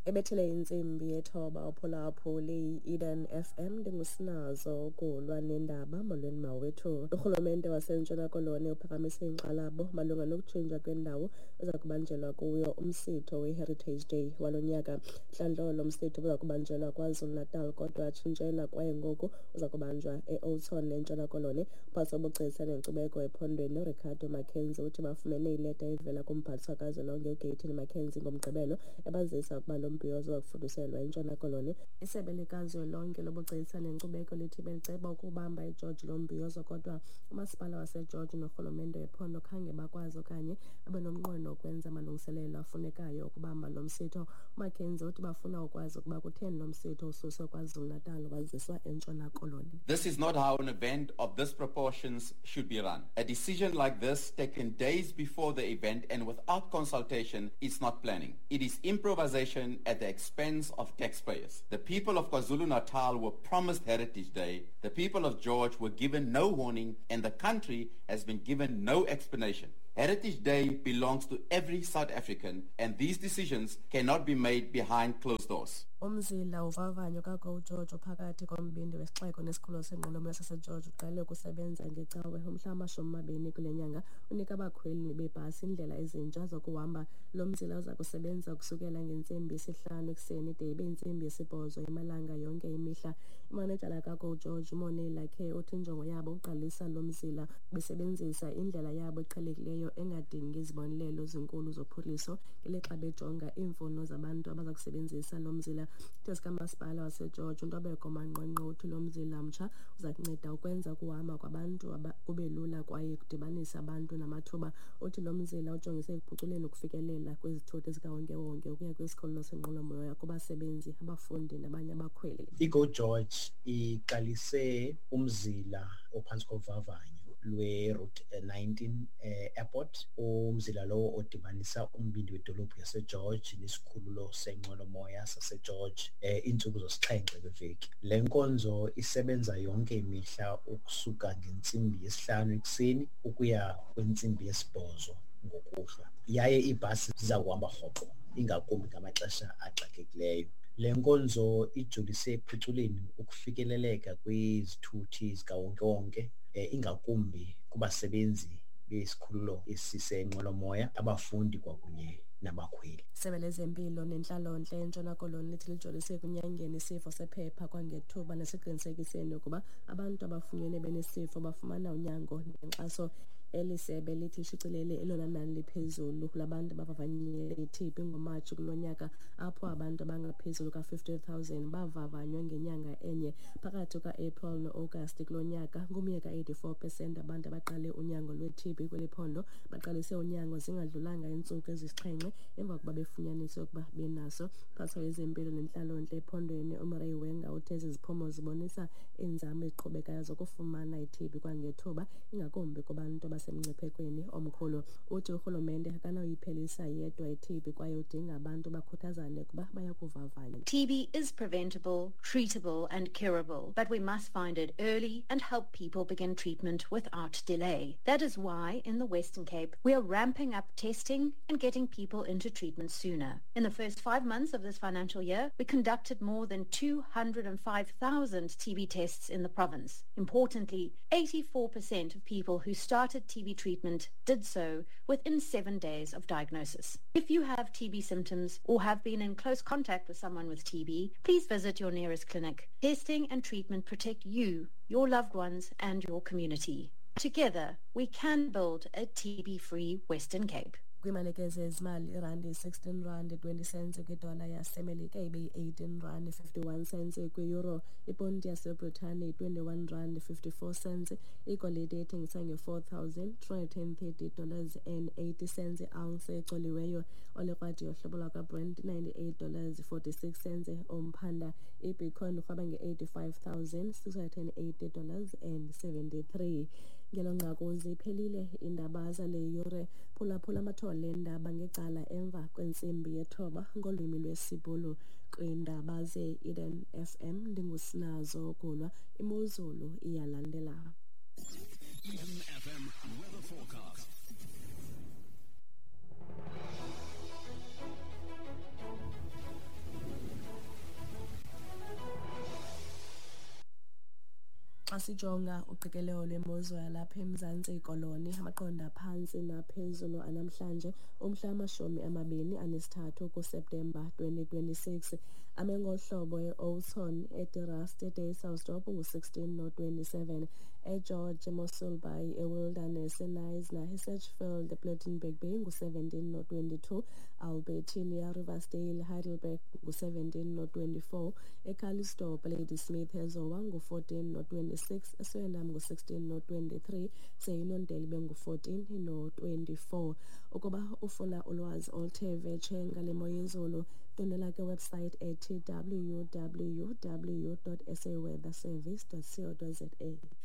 Ebethele intsimbi yethoba uphulaphuli i-Eden FM, ndingusinazo ukulwa nendaba. Molweni mawethu. Urhulumente waseNtshona Koloni uphakamise inkxalabo malunga nokutshintsha kwendawo eza kubanjelwa kuyo umsitho we-Heritage Day walo nyaka. Hlandlolo msitho uza kubanjelwa KwaZulu-Natal, kodwa atshintshela kwaye ngoku uza kubanjwa e-Oudtshoorn eNtshona Koloni. Umphathiswa wobugcisa nenkcubeko ephondweni uRicardo Mackenzie uthi bafumene ileta evela kumphathiswa kazwelonke uGayton McKenzie ngoMgqibelo ebazisa ukuba lo mbhiyozo uza kufuduselwa eNtshona Koloni. Isebe likazwelonke lobugcisa nenkcubeko lithi beliceba ukubamba eGeorge lo mbhiyozo, kodwa umasipala waseGeorge norhulumente wephondo khange bakwazi okanye babe nomnqweno wokwenza amalungiselelo afunekayo ukubamba lo msitho. UMackenzie uthi bafuna ukwazi ukuba kutheni lo msitho ususwe KwaZulu-Natal waziswa eNtshona Koloni. This is not how an event of this proportions should be run. A decision like this taken days before the event and without consultation is not planning. It is improvisation at the expense of taxpayers. The people of KwaZulu-Natal were promised Heritage Day. The people of George were given no warning, and the country has been given no explanation. Heritage Day belongs to every South African, and these decisions cannot be made behind closed doors. Umzila uvavanyo kaGo George phakathi kombindi wesixeko nesikhululo senqwelomoya saseGeorge uqale ukusebenza ngeCawe umhla wama-20 kule nyanga. Unika abakhweli beebhasi iindlela ezintsha zokuhamba. Lo mzila uza kusebenza ukusukela ngentsimbi yesihlanu ekuseni de ibe yintsimbi yesibhozo emalanga yonke imihla. Imanejala kaGo George uMonei Lakhe uthi injongo yabo ukuqalisa lo mzila besebenzisa indlela yabo eqhelekileyo engadingi izibonelelo zinkulu zophuhliso ngelixa bejonga iimfuno zabantu abaza kusebenzisa lo mzila. Isithethi kamasipala waseGeorge uNtobeko Manqwanqwa uthi lo mzila mtsha uza kunceda ukwenza ukuhamba kwabantu kube lula kwaye kudibanise abantu namathuba. Uthi lo mzila ujongise ekuphuculeni ukufikelela kwizithuthi zikawonkewonke ukuya kwisikhululo senqwelomoya kubasebenzi, abafundi nabanye abakhweli. IGo George iqalise umzila ophantsi kovavanyo lwe-Route 19 Airport, umzila lowo odibanisa umbindi wedolophu yaseGeorge nesikhululo senqwelomoya saseGeorge iintsuku zosixhenxe kweveki. Le nkonzo isebenza yonke imihla ukusuka ngentsimbi yesihlanu ekuseni ukuya kwintsimbi yesibhozo ngokuhlwa, yaye iibhasi ziza kuhamba rhoqo, ingakumbi ngamaxesha axakekileyo. Le nkonzo ijolise ekuphuculeni ukufikeleleka kwizithuthi zikawonkewonke, ingakumbi kubasebenzi besikhululo esisenqwelomoya, abafundi kwakunye nabakhweli. Isebe lezempilo nentlalontle eNtshona Koloni lithi lijolise ekunyangeni isifo sephepha kwangethuba nesiqinisekiseni ukuba abantu abafunyenwe benesifo bafumana unyango nenkxaso. Eli sebe lithi lishicilele elona nani liphezulu labantu abavavanyele i-TB ngoMatshi kulo nyaka, apho abantu abangaphezulu ka-50,000 bavavanywa ngenyanga enye. Phakathi kuka-April no-Agasti kulo nyaka, ngumye ka-84% abantu abaqale unyango lwe-TB kweli phondo baqalise unyango zingadlulanga iintsuku ezisixhenxe emva kokuba befunyaniswe ukuba benaso. Umphathiswa wezempilo nentlalontle ephondweni uMurray Wenger uthe ezi ziphumo zibonisa iinzame eziqhubekayo zokufumana i-TB kwangethuba, ingakumbi kubantu abasemngciphekweni omkhulu. Uthi urhulumente akanawuyiphelisa yedwa i-TB kwaye udinga abantu bakhuthazane ukuba bayakuvavanya. TB is preventable, treatable and curable, but we must find it early and help people begin treatment without delay. That is why in the Western Cape we are ramping up testing and getting people into treatment sooner. In the first 5 months of this financial year, we conducted more than 205,000 TB tests in the province. Importantly, 84% of people who started TB treatment did so within 7 days of diagnosis. If you have TB symptoms or have been in close contact with someone with TB, please visit your nearest clinic. Testing and treatment protect you, your loved ones, and your community. Together, we can build a TB-free Western Cape. Kwimalike zezimali, irandi 16 rand 20 cents kwidola yaseMelika, ibe yi-18 rand 51 cents kwi-euro. Iponti yaseBritane 21 rand 54 cents. Igolide ethengiswa nge-$4,330 dollars and 80 cents i-ounce ecoliweyo. Olekrwada yohlobo lwakwaBrent 98 dollars 46 cents umphanda. Ibitcoin irhweba nge-$85,680 dollars and 73. Ngelo nqaku ziphelile iindaba zale yure. Phulaphula amathole endaba ngecala emva kwentsimbi yethoba ngolwimi lwesiBhulu. Kwiindaba ze-Eden FM ndingusinazo Gulwa. Imozulu iyalandela. Eden FM weather forecast. Xa sijonga uqikelelo lwemozulu yalapha eMzantsi Koloni, amaqondo aphantsi naphezulu anamhlanje umhla 23 kuSeptemba 2026 ame ngohlobo: e-Oudtshoorn, eDe Rust, eDysselsdorp ngu-16 no-27, eGeorge, eMossel Bay, eWilderness, eKnysna, eSedgefield, ePlettenberg Bay ngu-17 no-22, Albertinia, Riversdale, Heidelberg ngu-17 no-24, eCalitzdorp, Ladysmith, eZowa ngu-14 no-26, eSwellendam ngu-16 no-23, Seyinondele bengu-14 no-24. Ukuba ufuna ulwazi oluthe vetshe ngale mo yezulu, ndwendwela ke website ethi www.saweatherservice.co.za.